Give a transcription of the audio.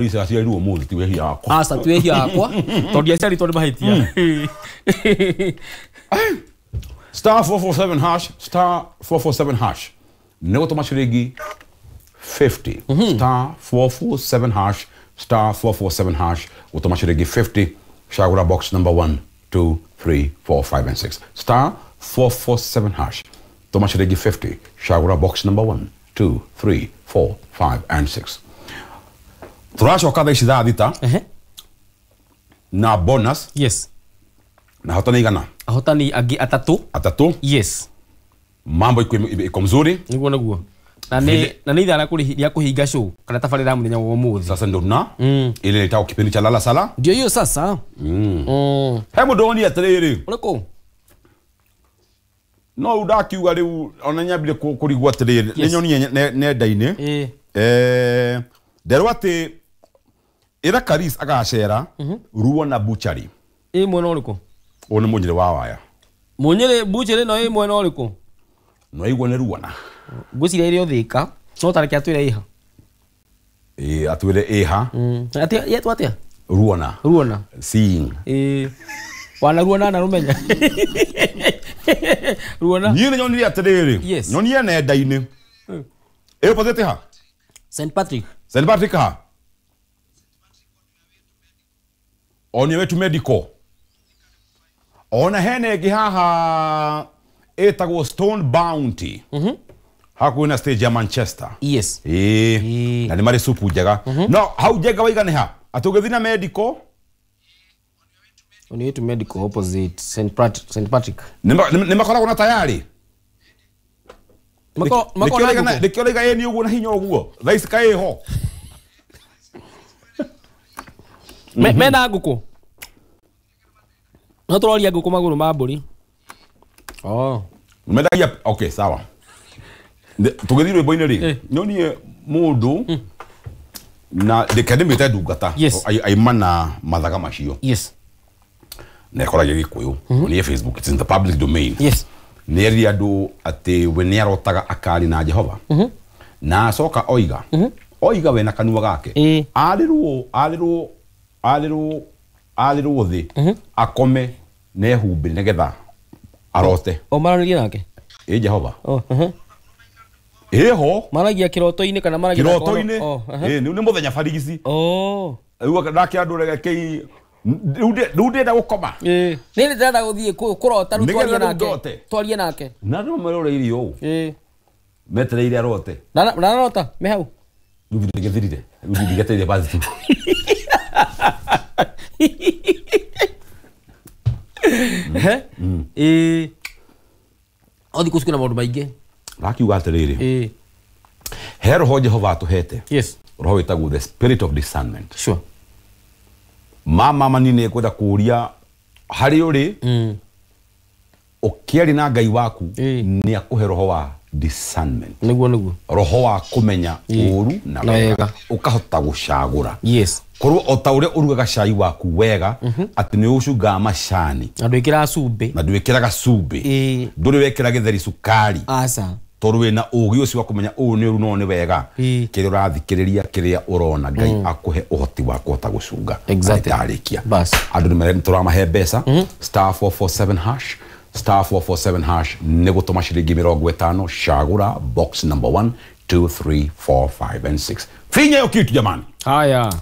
Lisa aciarirwo ũmũthĩ ti wehia wakwa. Aca ti wehia wakwa tondũ ndiaciarĩtwo nĩ mahĩtia. Star 447 hash, star 447 hash. Nĩ gũtũma ciringi 50. Star 447 hash, star 447 hash, gũtũma ciringi 50. Cagũra box number 1, 2, 3, 4, 5 and 6. Star 447 hash. Tũma ciringi 50. Cagũra box number 1, 2, 3, 4, 5 and 6. Tũracoka thaa ici thaa 6 na bonus. Yes. Na hotani igana? Ahotani angĩ atatũ. Atatũ? Yes. Mambo iko mzuri. Niguo niguo. Na nĩ ithaa rĩa kũhinga show kana tabarĩra ya mũthenya wa ũmũthĩ. Sasa ndio tuna ile itakuwa kipindi cha lala sala. Ndio hiyo sasa. He mũndũ woni atĩrĩrĩ. Ũrĩkũ? No rĩu ndakiuga rĩu ona nyambire kũrigwo atĩrĩrĩ. Nĩ nyonire nenda-inĩ. Nderwo atĩ ĩra Karis agacera Ruona Butchery. Ĩ mwena ũrĩkũ? Ũyũ nĩ Mũnyĩrĩ wa Waya. Mũnyĩrĩ Butchery no ĩ mwena ũrĩkũ? No igua nĩ Ruona. Ngwĩciria ĩrĩ o Thĩka, no tareke atwĩre ĩha. Ĩĩ atwĩre ĩha. Atĩa yetwo atĩa? Ruona. Ruona. Seeing. Ĩĩ. Wana ruona na rumenya. Ruona. Niĩ nĩ nyonire atĩrĩrĩ. Yes. Nyonire nenda-inĩ. Ĩ opposite ha? St Patrick. St Patrick ha? Onia wetu medical. Ona hena ĩngĩ haha ĩtagwo Stone Bounty. Hakuhĩ na stage ya Manchester. Yes. Ĩĩ. Na nĩ marĩ supu njega. No hau njega waiga nĩ ha? Atĩ ũgĩthiĩ na medical. Onia wetu medical opposite St Patrick. Nĩ makoragwo na tayari? Nĩkĩo raiga ĩ nĩ ũguo na hinya ũguo. Thaa ici kaĩ ĩho. Mena ngũkũ? No tũroria ngũkũ magũrũ ma mbũri. Oh. Mendagia, okay, sawa. Tũgĩthiĩ rwĩmbo-inĩ rĩ, nyonie mũndũ na reke ndĩmwĩte ndungata aima na mathaga macio. Yes. Na ĩkoragia Gĩkũyũ. Nĩ Facebook, it's in the public domain. Yes. Nĩ erire andũ atĩ we nĩ arotaga akari na Jehova. Na acoka oiga. Oiga we na kanua gake. Arĩrwo thĩ akome na ehumbĩre nĩgetha arote. O maranĩrie nake? Ĩ Jehova. Ĩho. Maragia kĩroto-inĩ kana maragia kĩroto-inĩ? Ĩ nĩ mũthenya barigici. Rĩu ndake andũ rekei rĩu ndĩrenda gũkoma. Ĩ nĩ ndĩrenda gũthiĩ kũrota rĩu twarie nake. Twarie nake. Na andũ maroreirie ũũ. Metereire arote. Na arota me hau. Rĩu ndĩgĩthirire. Rĩu ndĩgetereire bathi tu. O thikũ ici kwĩna maũndũ maingĩ. Ndakiuga atĩrĩrĩ. He roho Jehova atũhete. Yes. Roho wĩtagwo the spirit of discernment. Sure. Mama manini kwenda kũũria harĩ ũrĩ ũkĩaria na Ngai waku nĩ akũhe roho wa discernment. Nĩguo nĩguo. Roho wa kũmenya ũũru na wega. Ũkahota gũcagũra. Yes. Korwo o ta ũrĩa ũrugaga cai waku wega atĩ nĩ ũcungaga macani. Na ndwĩkĩraga cumbĩ. Na ndwĩkĩraga cumbĩ. Ndũrĩ wekĩra gĩtheri cukari. Aca. Tondũ wĩna ũũgĩ ũcio wa kũmenya ũũ nĩ ũru no nĩ wega. Kĩrĩa ũrathikĩrĩria kĩrĩa ũrona Ngai akũhe ũhoti wa kũhota gũcunga. Exactly. Ndarĩkia. Bas. Andũ nĩ tũramahe mbeca. Star 447 hash. Star 447 hash nĩ gũtũma ciringi 50 cagũra box number 1, 2, 3, 4, 5 and 6. Finya hiyo kitu jamani. Haya.